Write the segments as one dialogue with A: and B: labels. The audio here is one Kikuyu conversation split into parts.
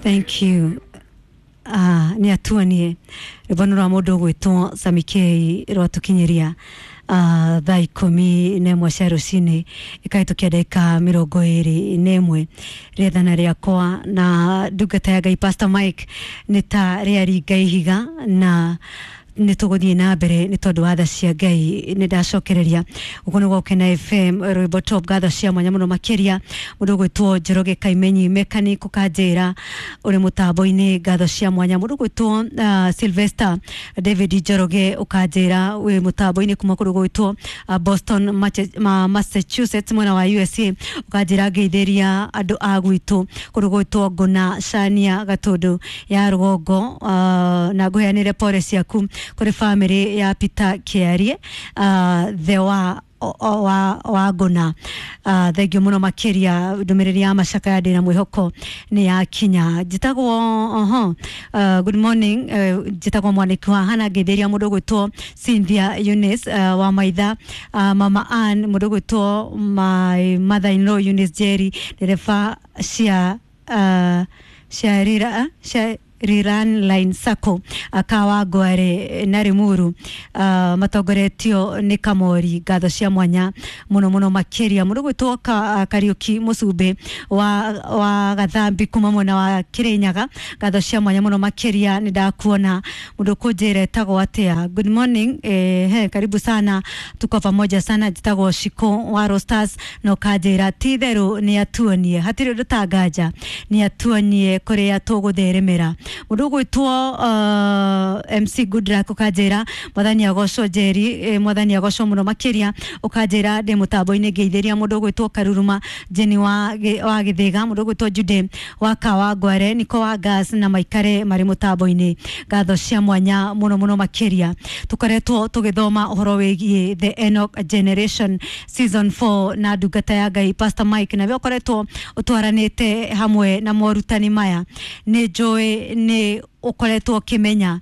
A: Thank you. Ah, nä atuanie rwĩmbo nĩ rwa mũndũ ũgwĩtwo Samikei rwatũkinyĩria thaa 11 cia rũcinĩ, ĩkahĩtũkia ndagĩka 21. Rĩathana rĩakwa na ndungata ya Ngai Pastor Mike nĩ ta rĩaringa ihiga, na nä tå gå thiä na mbere nä tondå wa tha cia Ngai. Nä ndacokereria gå nä Gokena FM, rwĩmbo top. Ngatho cia mwanya mũno makĩria mũndũ ũgwĩtwo Njoroge Kaimenyi mechanic, ũkanjĩra ũrĩ mũtambo-inĩ. Ngatho cia mwanya mũndũ ũgwĩtwo Sylvester David Njoroge, ũkanjĩra wĩ mũtambo-inĩ kuma kũndũ gwĩtwo Boston, Massachusetts, mwena wa USA. Ũkanjĩra ngeithĩria andũ a gwitũ kũndũ gwĩtwo Ngũna Cania, Gatũndũ ya rũgongo, na ngũheanĩre pore ciaku kũrĩ famĩlĩ ya Peter Kĩarie, the wa ngũna. Thengio mũno makĩria. Ndũmĩrĩri ya macakaya ndĩna mwĩhoko nĩ yakinya. Njĩtagwo oho, good morning, njĩtagwo mwanĩki wa hana. Ngeithĩria mũndũ ũgwĩtwo Cynthia Eunice, wa maitha, mama Ann, mũndũ ũgwĩtwo my mother in law Eunice Jerry, ndereba cia rira cia Riran Line Sacco akawa Ngware na Rimuru, matongoretio nĩ Kamori. Ngatho cia mwanya mũno mũno makĩria mũndũ gwĩtwo Kariũki Mũcumbĩ wa Gathambi kuma mwena wa Kirinyaga. Ngatho cia mwanya mũno makĩria. Nĩ ndakuona mũndũ kũnjĩra etagwo atĩa. Good morning, he karibu sana, tuko pamoja sana. Njĩtagwo Shiko wa Rosters, na ũkanjĩra ti therũ nĩ atuonie hatirĩ ũndũ tanganja, nĩ atuonie kũrĩa tũgũtheremera. Mũndũ ũgwĩtwo MC Goodluck, ũkanjĩra mwathani agocwo. Njeri, mwathani agocwo mũno makĩria. Ũkanjĩra ndĩ mũtambo-inĩ, ngeithĩria mũndũ ũgwĩtwo Karuruma Jeni wa Gĩthĩga, mũndũ ũgwĩtwo Jude wa Kawa Ngware, Niko wa Gas, na maikare marĩ mũtambo-inĩ. Ngatho cia mwanya mũno mũno makĩria. Tũkoretwo tũgĩthoma ũhoro wĩgiĩ The Enoch Generation season 4 na ndungata ya Ngai Pastor Mike, nawe ũkoretwo ũtwaranĩte hamwe na morutani maya, nĩ njũĩ nĩ ũkoretwo ũkĩmenya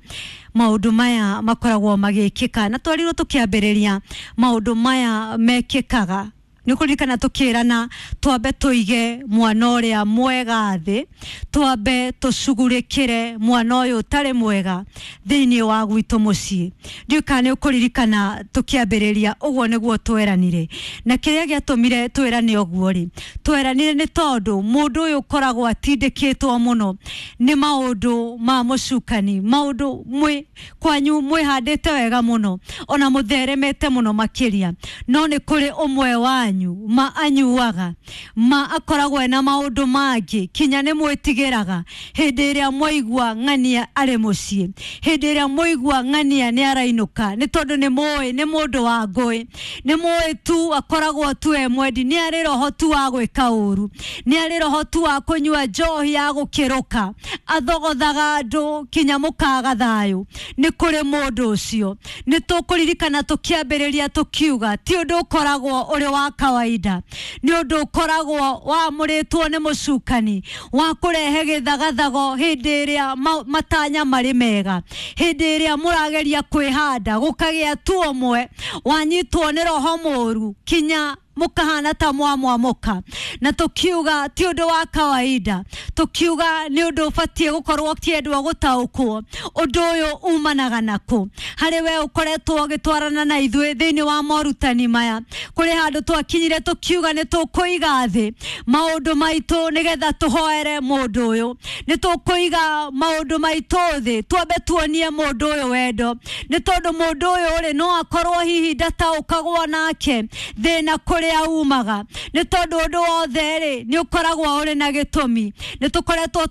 A: maũndũ maya makoragwo magĩkĩka, na twarirwo tũkĩambĩrĩria maũndũ maya mekĩkaga. Nĩ ũkũririkana tũkĩrana twambe tũige mwana ũrĩa mwega thĩ, twambe tũcugurĩkĩre mwana ũyũ ũtarĩ mwega thĩinĩ wa gwitũ mũciĩ. Ndiũĩ kana nĩ ũkũririkana tũkĩambĩrĩria ũguo nĩguo tweranire, na kĩrĩa gĩatũmire twĩrane ũguo rĩ, tweranire nĩ tondũ mũndũ ũyũ ũkoragwo atindĩkĩtwo mũno nĩ maũndũ ma mũcukani, maũndũ mwĩ kwanyu mwĩhandĩte wega mũno ona mũtheremete mũno makĩria, no nĩ kũrĩ ũmwe wanyu ma anyuaga, ma akoragwo ena maũndũ mangĩ, kinya nĩ mwĩtigĩraga hĩndĩ ĩrĩa mwaigua ng'ania arĩ mũciĩ, hĩndĩ ĩrĩa mwaigua ng'ania nĩ arainũka, nĩ tondũ nĩ mũĩ nĩ mũndũ wa ngũĩ, nĩ mũĩ tu akoragwo tu e mwendi, nĩ arĩ roho tu wa gwĩka ũru, nĩ arĩ roho tu wa kũnyua njohi ya gũkĩrũka, athogothaga andũ kinya mũkaga thayũ. Nĩ kũrĩ mũndũ ũcio. Nĩ tũkũririkana tũkĩambĩrĩria tũkiuga ti ũndũ ũkoragwo ũrĩ wa kawaida, nĩ ũndũ ũkoragwo wamũrĩtwo nĩ mũcukani wa kũrehe gĩthagathago hĩndĩ ĩrĩa matanya marĩ mega, hĩndĩ ĩrĩa mũrageria kwĩhanda, gũkagĩa tu ũmwe wanyitwo nĩ roho mũru kinya mũkahana ta mwamwamoka. Na tukiuga ti ũndũ wa kawaida, tukiuga nĩ ũndũ ũbatiĩ gũkorwo ũkĩendwo gũtaũkwo ũndũ ũyũ umanaga nakũ. Harĩ we ũkoretwo ũgĩtwarana na ithuĩ thĩinĩ wa morutani maya, kũrĩ handũ twakinyire tũkiuga nĩ tũkũiga thĩ maũndũ maitũ nĩgetha tũhoere mũndũ ũyũ, nĩ tũkũiga maũndũ maitũ thĩ twambe tuonie mũndũ ũyũ wendo, nĩ tondũ mũndũ ũyũ rĩ, no akorwo hihi ndataũkagwo nake thĩna kũrĩa umaga, nĩ tondũ ũndũ wothe rĩ, nĩ ũkoragwo ũrĩ na gĩtũmi. Nĩ tũkoretwo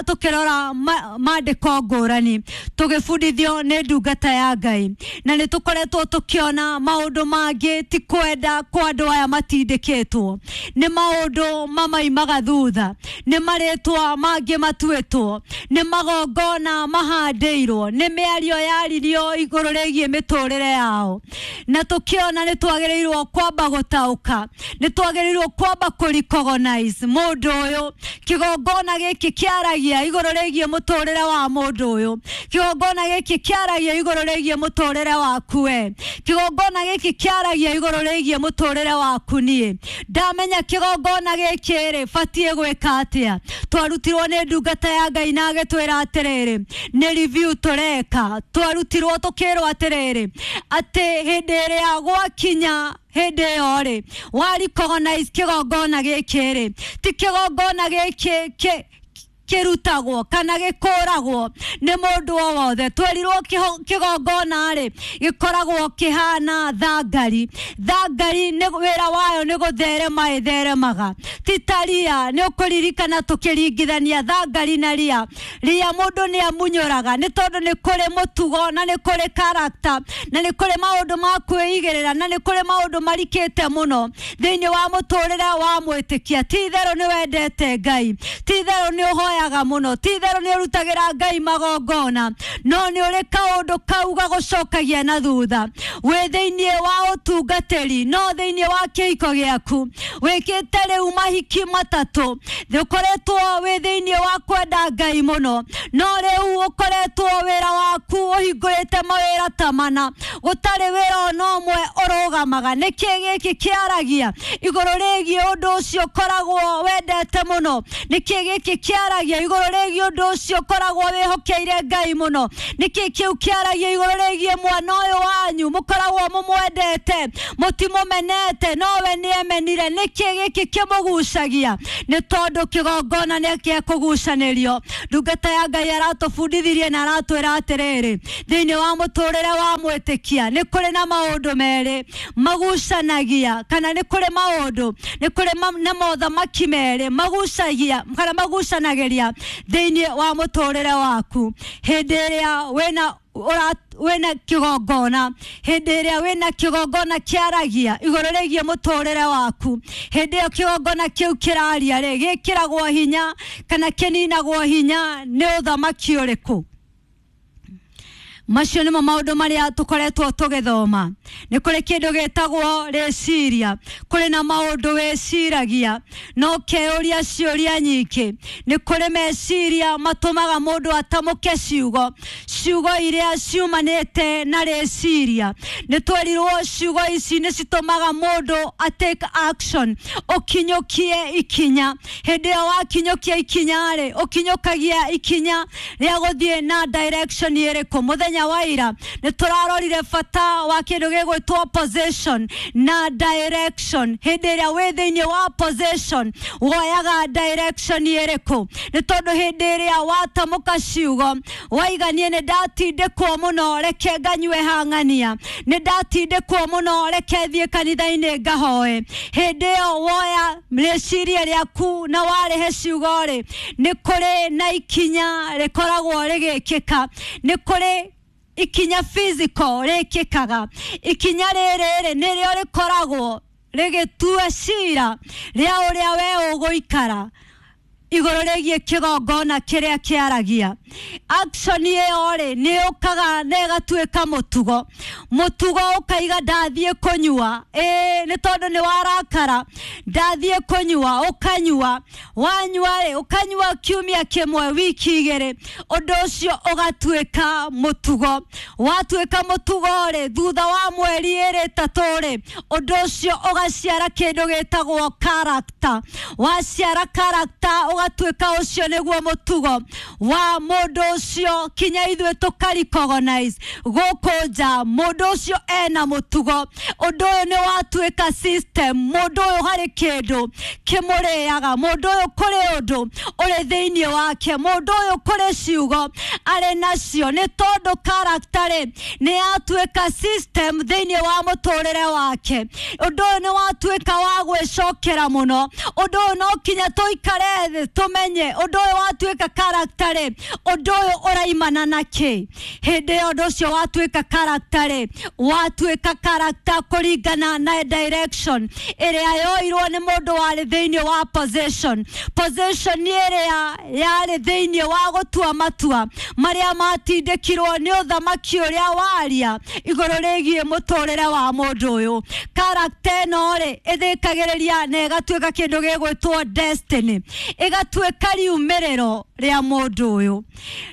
A: tũkĩrora maandĩko ngũrani tũgĩbundithio nĩ ndungata ya Ngai, na nĩ tũkoretwo tũkĩona maũndũ mangĩ ti kwenda kwa andũ aya matindĩkĩtwo, nĩ maũndũ mamaimaga thutha, nĩ marĩtwa mangĩ matuĩtwo, nĩ magongona mahandĩirwo, nĩ mĩario yaririo igũrũ rĩgiĩ mĩtũrĩre yao, na tũkĩona nĩ twagĩrĩirwo kwamba gũtaũkwo. tũranũka nĩ twagĩrĩirwo kwamba kũ-recognize mũndũ ũyũ. Kĩgongona gĩkĩ kĩaragia igũrũ rĩgiĩ mũtũrĩre wa mũndũ ũyũ, kĩgongona gĩkĩ kĩaragia igũrũ rĩgiĩ mũtũrĩre waku we, kĩgongona gĩkĩ kĩaragia igũrũ rĩgiĩ mũtũrĩre waku niĩ. Ndamenya kĩgongona gĩkĩ rĩ, batiĩ gwĩka atĩa? Twarutirwo nĩ ndungata ya Ngai na agĩtwĩra atĩrĩrĩ, nĩ review tũreka. Twarutirwo tũkĩrwo atĩrĩrĩ, atĩ hĩndĩ ĩrĩa gwakinya hĩndĩ ĩyo rĩ, wa recognize kĩgongona gĩkĩ rĩ, ti kĩgongona gĩkĩ kĩrutagwo kana gĩkũragwo nĩ mũndũ o wothe. Twerirwo kĩgongona rĩ gĩkoragwo kĩhana thangari. Thangari nĩ wĩra wayo nĩ gũtherema ĩtheremaga, ti ta ria. Nĩ ũkũririkana tũkĩringithania thangari na ria. Ria mũndũ nĩ amunyũraga nĩ tondũ nĩ kũrĩ mũtugo na nĩ kũrĩ character na nĩ kũrĩ maũndũ ma kwĩigĩrĩra na nĩ kũrĩ maũndũ marikĩte mũno thĩinĩ wa mũtũrĩre wa mwĩtĩkia. Ti itherũ nĩ wendete Ngai, ti itherũ nĩ ũhoyaga mũno, ti itherũ nĩ ũrutagĩra Ngai magongona, no nĩ ũrĩ kaũndũ kau gagũcokagia na thutha. Wĩ thĩinĩ wa ũtungatĩri, no thĩinĩ wa kĩhiko gĩaku wĩkĩte rĩu mahiki matatũ, ũkoretwo wĩ thĩinĩ wa kwenda Ngai mũno, no rĩu ũkoretwo wĩra waku ũhingũrĩte mawĩra ta mana, gũtarĩ wĩra ona ũmwe ũrũgamaga. Nĩkĩ gĩkĩ kĩaragia igũrũ rĩgiĩ ũndũ ũcio ũkoragwo wendete mũno? Nĩkĩ gĩkĩ kĩaragia igũrũ rĩgiĩ ũndũ ũcio ũkoragwo wĩhokeire Ngai mũno? Nĩkĩ kĩu kĩaragia igũrũ rĩgiĩ mwana ũyũ wanyu mũkoragwo mũmwendete, mũtimũmenete, nowe nĩemenire? Nĩkĩ gĩkĩ kĩmũgucagia? Nĩ tondũ kĩgongona nĩ gĩakũgucanĩrio. Ndungata ya Ngai aratũbundithirie na aratwĩra atĩrĩrĩ, thĩinĩ wa mũtũrĩre wa mwĩtĩkia nĩ kũrĩ na maũndũ merĩ magucanagia, kana nĩ kũrĩ maũndũ, nĩ kũrĩ na mothamaki merĩ magucagia kana magucanagĩria thĩinĩ wa mũtũrĩre waku. Hĩndĩ ĩrĩa wĩna kĩgongona, hĩndĩ ĩrĩa wĩna kĩgongona kĩaragia igũrũ rĩgiĩ mũtũrĩre waku, hĩndĩ ĩyo kĩgongona kĩu kĩraria rĩ, gĩkĩragwo hinya kana kĩninagwo hinya nĩ ũthamaki ũrĩkũ? Macio nĩmo maũndũ marĩa tũkoretwo tũgĩthoma. Nĩ kũrĩ kĩndũ gĩtagwo rĩciria, kũrĩ na maũndũ wĩciragia no keyũria ciũria nyingĩ. Nĩ kũrĩ meciria matũmaga mũndũ atamũke ciugo, ciugo iria ciumanĩte na rĩciria. Nĩ twerirwo ciugo ici nĩ citũmaga mũndũ a take action, ũkinyũkie ikinya. Hĩndĩ ĩyo wakinyũkia ikinya rĩ, ũkinyũkagia ikinya rĩa gũthiĩ na direction ĩrĩkũ? Mũthenya wa ira nĩ tũrarorire bata wa kĩndũ gĩgwĩtwo position na direction. Hĩndĩ ĩrĩa wĩ thĩinĩ wa position woyaga direction ĩrĩkũ? Nĩ tondũ hĩndĩ ĩrĩa watamũka ciugo waiga niĩ nĩ ndatindĩkwo mũno, reke nganyue hang'ania, nĩ ndatindĩkwo mũno, reke thiĩ kanitha-inĩ ngahoe, hĩndĩ ĩyo woya rĩciria rĩaku na warĩhe ciugo rĩ, nĩ kũrĩ na ikinya rĩkoragwo rĩgĩkĩka, nĩ kũrĩ ikinya physical rĩkĩkaga. Ikinya rĩrĩ rĩ nĩrĩo rĩkoragwo rĩgĩtua cira rĩa ũrĩa we ũgũikara igũrũ rĩgiĩ kĩgongona kĩrĩa kĩaragia. Action ĩyo rĩ nĩ yũkaga na ĩgatuĩka mũtugo. Mũtugo ũkaiga ndathiĩ kũnyua, ĩĩ nĩ tondũ nĩ warakara, ndathiĩ kũnyua, ũkanyua, wanyua rĩ ũkanyua kiumia kĩmwe, wiki igĩrĩ, ũndũ ũcio ũgatuĩka mũtugo. Watuĩka mũtugo rĩ, thutha wa mweri ĩrĩ ĩtatũ rĩ, ũndũ ũcio ũgaciara kĩndũ gĩtagwo character. Waciara character ũgatuĩka ũcio nĩguo mũtugo wa mũndũ ũcio, kinya ithuĩ tũka-recognize gũkũ nja mũndũ ũcio ena mũtugo. Ũndũ ũyũ nĩ watuĩka system, mũndũ ũyũ harĩ kĩndũ kĩmũrĩaga, mũndũ ũyũ kũrĩ ũndũ ũrĩ thĩinĩ wake, mũndũ ũyũ kũrĩ ciugo arĩ nacio, nĩ tondũ character rĩ nĩ yatuĩka system thĩinĩ wa mũtũrĩre wake. Ũndũ ũyũ nĩ watuĩka wa gwĩcokera mũno. Ũndũ ũyũ no kinya tũikare thĩ Tũmenye ũndũ ũyũ watuĩka character rĩ, ũndũ ũyũ ũraimana na kĩ? Hĩndĩ ĩyo ũndũ ũcio watuĩka character rĩ, watuĩka character kũringana na direction ĩrĩa yoirwo nĩ mũndũ warĩ thĩinĩ wa position. Position ĩrĩa yarĩ thĩinĩ wa gũtua matua marĩa matindĩkirwo nĩ ũthamaki ũrĩa waria igũrũ rĩgiĩ mũtũrĩre wa mũndũ ũyũ. Character ĩno rĩ, ĩthĩkagĩrĩria na ĩgatuĩka kĩndũ gĩgwĩtwo destiny, ĩgatuĩka riumĩrĩro rĩa mũndũ ũyũ.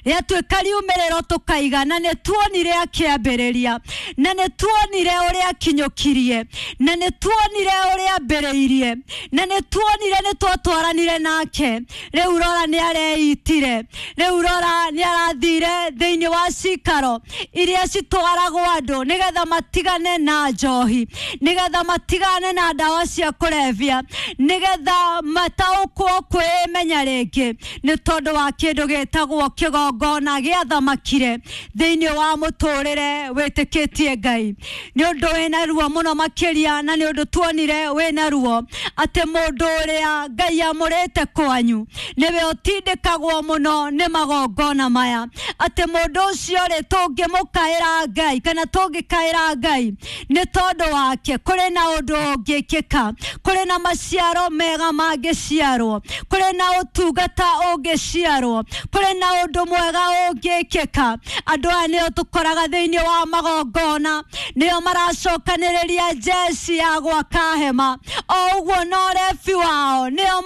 A: Rĩatuĩka riumĩrĩro tũkaiga, na nĩ tuonire akĩambĩrĩria, na nĩ tuonire ũrĩa akinyũkirie, na nĩ tuonire ũrĩa ambĩrĩirie, na nĩ tuonire nĩ twatwaranire nake. Rĩu rora nĩ areitire, rĩu rora nĩ arathire thĩinĩ wa cikaro iria citwaragwo andũ nĩgetha matigane na njohi, nĩgetha matigane na ndawa cia kũrebia, nĩgetha mataũkwo kwĩmenya rĩngĩ, nĩ tondũ wa kĩndũ gĩtagwo kĩgongona gĩathamakire thĩinĩ wa mũtũrĩre wĩtĩkĩtie Ngai. Nĩ ũndũ wĩna ruo mũno makĩria, na nĩ ũndũ tuonire wĩna ruo atĩ mũndũ ũrĩa Ngai amũrĩte kwanyu nĩwe ũtindĩkagwo mũno nĩ magongona maya, atĩ mũndũ ũcio rĩ, tũngĩmũkaĩra Ngai kana tũngĩkaĩra Ngai nĩ tondũ wake, kũrĩ na ũndũ ũngĩkĩka, kũrĩ na maciaro mega mangĩciarwo, kũrĩ na ũtungata ũngĩciarwo, kũrĩ na ũndũ mwega ũngĩkĩka. Andũ aya nĩo tũkoraga thĩinĩ wa magongona, nĩo maracokanĩrĩria jeshi ya gwaka hema, o ũguo no rebi wao nĩo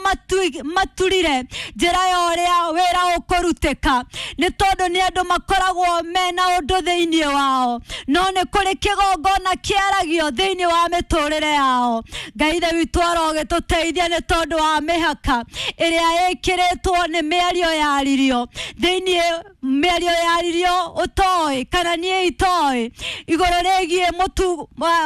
A: maturire njĩra ya ũrĩa wĩra ũkũrutĩka, nĩ tondũ nĩ andũ makoragwo mena ũndũ thĩinĩ wao, no nĩ kũrĩ kĩgongona kĩaragio thĩinĩ wa mĩtũrĩre yao. Ngai ithe witũ arogĩtũteithia nĩ tondũ wa mĩhaka ĩrĩa ĩkĩrĩtwo nĩ mĩario yaririo thĩinĩ, mĩario yaririo ũtoĩ kana niĩ itoĩ igũrũ rĩgiĩ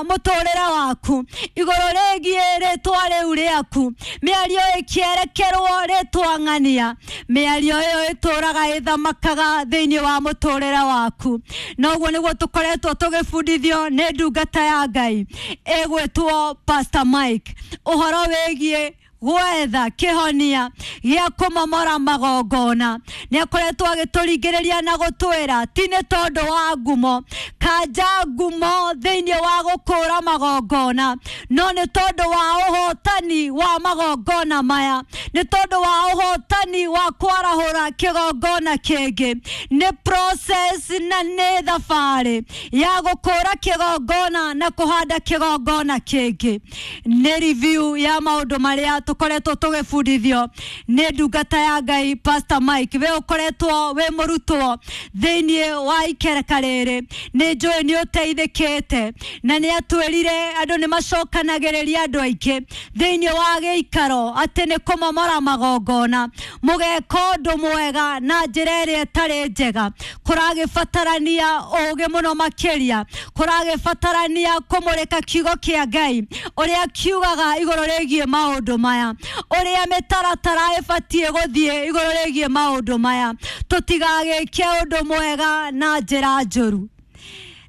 A: mũtũrĩre waku, igũrũ rĩgiĩ rĩtwa rĩu rĩaku, mĩario ĩkĩerekerwo rĩtwa ng'ania, mĩario ĩyo ĩtũraga ĩthamakaga thĩinĩ wa mũtũrĩre waku. Na ũguo nĩguo tũkoretwo tũgĩbundithio nĩ ndungata ya Ngai ĩgwĩtwo Pastor Mike, ũhoro wĩgiĩ gwetha kĩhonia gĩa kũmomora magongona. Nĩ akoretwo agĩtũringĩrĩria na gũtwĩra ti nĩ tondũ wa ngumo, kanja ngumo thĩinĩ wa gũkũra magongona, no nĩ tondũ wa ũhotani wa magongona maya, nĩ tondũ wa ũhotani wa kwarahũra kĩgongona kĩngĩ. Nĩ process na nĩ thabarĩ ya gũkũra kĩgongona na kũhanda kĩgongona kĩngĩ. Nĩ review ya maũndũ marĩa tũkoretwo tũgĩbundithio nĩ ndungata ya Ngai Pastor Mike. We ũkoretwo wĩ mũrutwo thĩinĩ wa ikereka rĩrĩ, nĩ njũĩ nĩ ũteithĩkĩte, na nĩ atwĩrire andũ nĩ macokanagĩrĩria andũ aingĩ thĩinĩ wa gĩikaro atĩ nĩ kũmomora magongona, mũgeka ũndũ mwega na njĩra ĩrĩa ĩtarĩ njega. Kũragĩbatarania ũũgĩ mũno makĩria, kũragĩbatarania kũmũrĩka kiugo kĩa Ngai ũrĩa kiugaga igũrũ rĩgiĩ maũndũ maya, ũrĩa mĩtaratara ĩbatiĩ gũthiĩ igũrũ rĩgiĩ maũndũ maya, tũtigagĩke ũndũ mwega na njĩra njũru.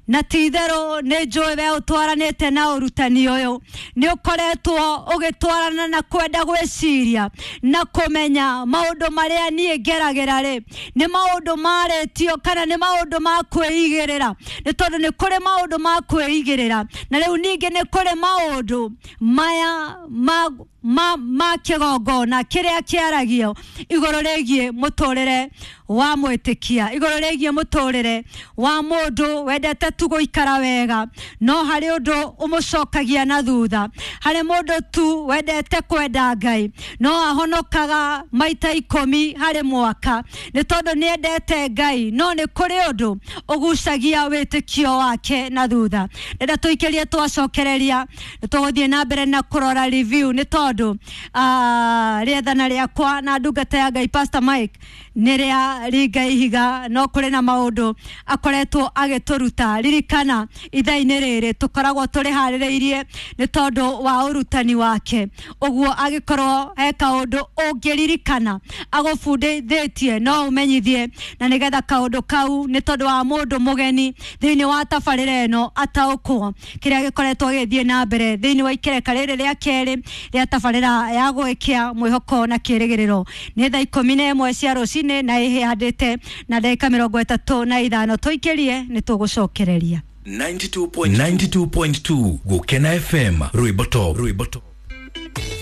A: Na ti itherũ nĩ njũĩ we ũtwaranĩte na ũrutani ũyũ, nĩ ũkoretwo ũgĩtwarana na kwenda gwĩciria na kũmenya maũndũ marĩa niĩ ngeragĩra rĩ, nĩ maũndũ marĩtio kana nĩ maũndũ ma kwĩigĩrĩra, nĩ tondũ nĩ kũrĩ maũndũ ma kwĩigĩrĩra, na rĩu ningĩ nĩ kũrĩ maũndũ maya ma kĩgongona kĩrĩa kĩaragio igũrũ rĩgiĩ mũtũrĩre wa mwĩtĩkia, igũrũ rĩgiĩ mũtũrĩre wa mũndũ wendete tu gũikara wega, no harĩ ũndũ ũmũcokagia na thutha, harĩ mũndũ tu wendete kwenda Ngai no ahonokaga maita 10 harĩ mwaka nĩ tondũ nĩ endete Ngai, no nĩ kũrĩ ũndũ ũgucagia wĩtĩkio wake na thutha. Rĩrĩa tũikĩrie twacokereria, nĩ tũgũthiĩ na mbere na kũrora review, nĩ tondũ rĩathana rĩakwa na ndungata ya Ngai Pastor Mike nĩ rĩa ringa ihiga, no kũrĩ na maũndũ akoretwo agĩtũruta. Ririkana ithaa-inĩ rĩrĩ tũkoragwo tũrĩharĩrĩirie nĩ tondũ wa ũrutani wake, ũguo agĩkorwo he kaũndũ ũngĩririkana agũbundithĩtie no ũmenyithie, na nĩgetha kaũndũ kau nĩ tondũ wa mũndũ mũgeni thĩinĩ wa tabarĩra ĩno ataũkwo kĩrĩa gĩkoretwo gĩgĩthiĩ na mbere thĩinĩ wa ikereka rĩrĩ rĩa kerĩ rĩa Tabarĩra ya gwĩkia mwĩhoko na kĩrĩgĩrĩro. Nĩ thaa 11 cia rũcinĩ na ĩhĩhandĩte na ndagĩka 35. Tũikĩrie nĩ tũgũcokereria.
B: 92.2 Gukena FM, rwimbo top, rwimbo top.